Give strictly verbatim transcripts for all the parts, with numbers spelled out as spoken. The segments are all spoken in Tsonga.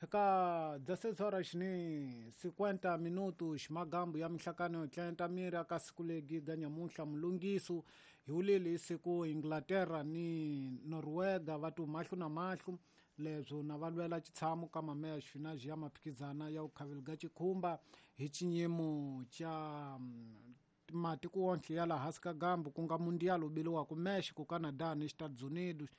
Ka dezesseis horas ni cinquenta minutos magambo ya mihlakano tlenta mira ka siku legi ga nyamuntlha mulungiso hi wulile siku Inglaterra ni Noruega va tu mahlo na mahlo leswo na va lwela xitshamo ka mameya xifinaji ya maphikizana ya ukhaveli ga xikhumba hi xinyimo xa matiko wonke ya laha hansi ka gambu ku nga mundial wu biliwaka Mexico, Canada ni Estados Unidos.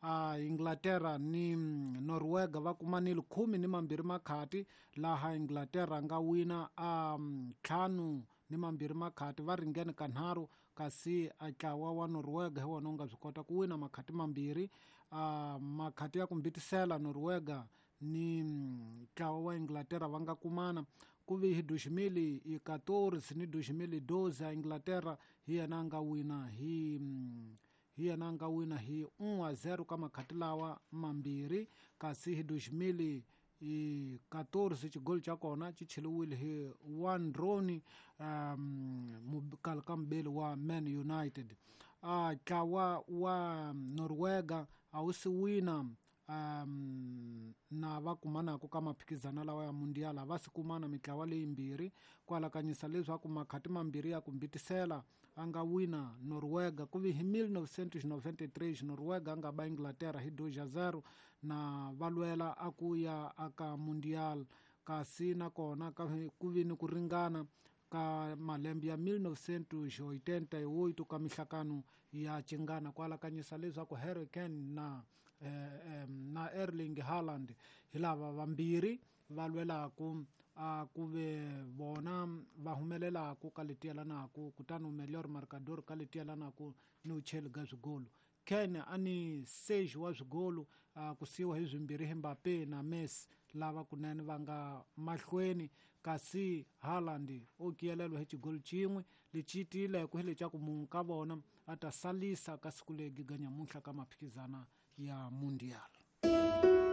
A Inglaterra ni Noruega va kumanile khume ni mambirhi makhati laha Inglaterra nga wina a ntlhanu ni mambirhi makhati va ringene kanharhu kasi a ntlawa wa Noruega hi wona wu nga swi kota ku wina makhati mambirhi. A makhati ya ku mbitisela Noruega ni ntlawa wa Inglaterra va nga kumana ku vi hi dois mil e quatorze ni dois mil e doze a Inglaterra hi yena a nga wina hi hi yena a nga wina hi un a zero ka makhati lawa mambirhi kasi hi dois mil e quatorze xigoli xa kona xi cheliwile hi Wayne Rooney um kale ka mubeli wa Man United. A ntlawa wa Noruega a wu si wina um na va kumanaka ka maphikizana lawa ya mundial a va si kumana mitlawa leyimbirhi ku alakanyisa leswaku makhati mambirhi ya ku mbitisela a nga wina Noruega ku vi hi mil novecentos noventa e três Noruega a nga ba Inglaterra hi dois a zero na va lwela a ku ya aka mundial kasi nakona ku vi ni ku ringana ka malembe ya mil novecentos oitenta e oito ka mihlakano ya cingana ku alakanyisa leswaku Harry Kane na eh, eh, na Erling Haaland hi lava vambirhi va lwelaku a ku ve vona va humelelaku ka leti yelanaku kutani melhor marcador ka leti yelanaku ni ucheli ga swigolo. Kane a ni seis wa swigolo a ku siyiwa hi swimbirhi hi Mbappe na Messi lava kunene va nga mahlweni kasi Haaland o kiyelelwa hi xigolo xin'we lexi tiyileke hi lexa ku munhu ka vona a ta salisa ka siku legi ga nyamuntlha ka maphikizana ya mundial.